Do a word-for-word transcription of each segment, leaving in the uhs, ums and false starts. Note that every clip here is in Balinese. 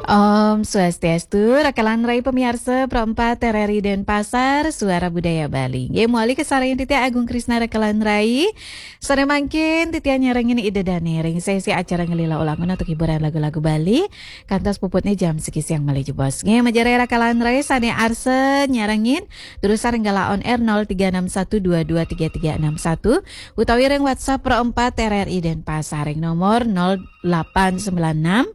Om Swastiastu, rakalan rai pamiarsa Pro empat R R I Denpasar, Suara Budaya Bali. Nggih, mawali kasarengin titiang Agung Krisna rakalan rai. Sané mangkin titiang nyarengin ida dané ring sesi acara ngelila ulangun antuk hiburan lagu-lagu Bali. Kantos puputné jam siki siang malih jebos. Nggih, majeng rai rakalan rai sané arsa nyarengin, durusang ring gala on air nol tiga enam satu dua dua tiga tiga enam satu utawi ring WhatsApp Pro empat R R I Denpasar ring nomor nol delapan sembilan enam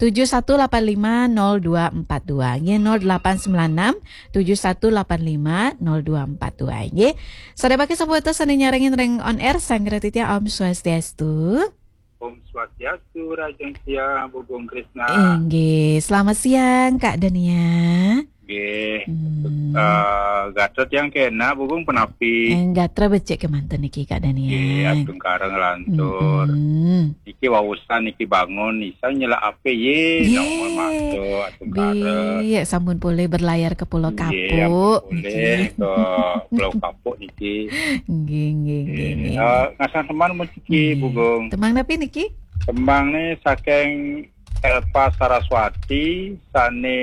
tujuh satu delapan lima nol dua empat dua. Nggih, nol delapan sembilan enam tujuh satu delapan lima nol dua empat dua. Nggih. Sané mangkin sampun wénten sané nyarengin ring on air, sareng titiang Om Swastiastu. Om Swastiastu, Rahajeng Siang, Agung Krisna. Inggih, selamat siang, Kak Dania. Nggih. Hmm. Eh, gatra tiang kénak, Agung, punapi? Eh, gatra becik kémanten niki, Kak Dania. Nggih, astungkara nglantur. Mm-mm. Niki waosan, niki bangun, isan nyelak apé, yé, nomor masuk, astungkara. Bi, ya, sampun polih berlayar ke Pulau Kapuk. Nggih, ampun polih niki. Ke Pulau Kapuk niki. Nggih, nggih, nggih, nggih. Eh, ngasah seman musiki, nggih. Agung. Tembang napi niki? Tembang né saking Elva Saraswati, sané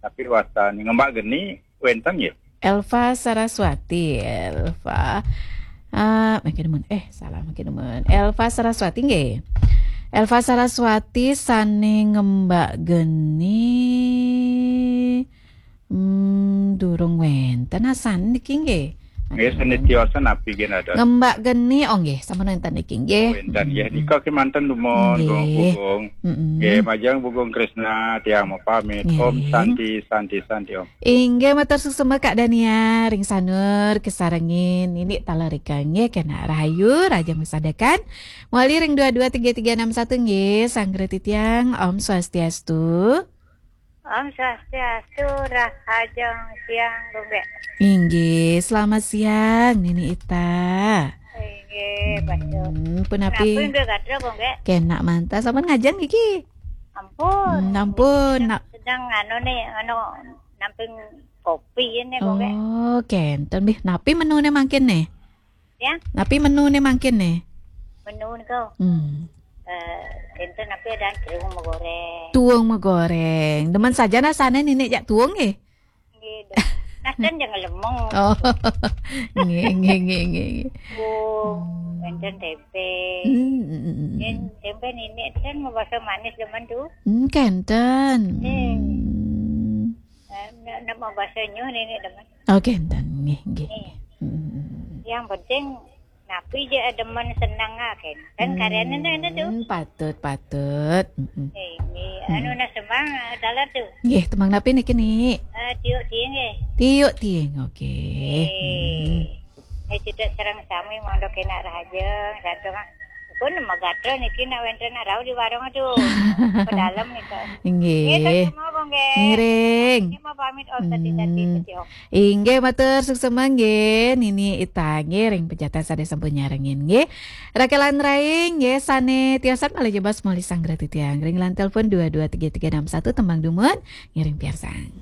tapi wastan Ngembak Geni, wénten nggih? Elva Saraswati, Elva. Ah, mangkin dumun. Eh, salah, mangkin dumun. Elva Saraswati nggih. Elva Saraswati sané Ngembak Geni. Hmm, durung wénten asan niki nggih. Nggih, sané tiosan napi nggih, ada. Ngembak Geni, oh nggih, sampun wénten niki nggih. Oh, wénten nggih. Mm-mm. Nika kémanten dumun, nggih. Agung. Mm-mm. Nggih, majeng Agung Krisna, tiang mau pamit. Nggih. Om Santi, Santi, Santi, Om. Inggih, matur suksma Kak Dania, ring Sanur, kasarengin Nini Talarika nggih, kénak rahayu, rahajeng masadekan. Mawali ring dua dua tiga tiga enam satu nggih, sareng titiang, Om Swastiastu. Om Swastiastu, rahajeng siang, Gung Gé. Inggih, selamat siang, Nini Ita. Inggih, Pak Cuk. Hmm, punapi? Napi nggih gatra, Gung Gé? Kénak manten, sampun ngajeng niki? Ampun. Hmm, ampun. Sedang, nak sedang anu nih, anu, namping kopi ini, Gung Gé. Oh, kénten, bih. Napi menuné mangkin nih? Ya? Napi menuné mangkin nih? Menu nika. Hmm. Eh, énten napi, ada tuung magoréng. Tuung magoréng. Demen sajan asané Nini jak tuung nggih? Nggih, demen. Nah, ten jangan lemong. Oh. Nggih, nggih, nggih, nggih, nggih. Tuung, hmm, énten témpé. Hmm, hmm, hmm, hmm. Yén témpé Nini ten mau basa manis demen tuh. Hmm, kénten. Eh. Hmm. Eh, nak, nak mau basa nyuh Nini demen. Oh, kénten. Nggih, nggih. Nggih. Hmm. Yang penting napi ja demen seneng, ah, kénten. Hmm, karyané énten tuh. Patut, patut. Mm-mm. Eh, nggih. Hmm. Anu nah semang, eh, dalar tuh. Nggih, tembang napi niki, Ni? Eh, Tiuk Tiing nggih. Tiuk Tiing, oke. Eh. Hmm. Eh, cedhak sareng sami mangda kénak rahajeng, sareng pun magatra niki nak wénten nak rauh di warung, aduh. Pedalem nika. Nggih. Nggih, terus semua, Gung Gé. Ngiring. Ini mau pamit, Om, tadi-tadi, hmm, tadi, Om. Inggih, matur suksma nggih, Nini Ita nggih, ring pejatan sané sampun nyarengin nggih. Rakalan rai nggih, sané tiosan malih jebos mawali sareng titiang. Ring line telepon dua dua tiga tiga enam satu, tembang dumun, ngiring piarsang.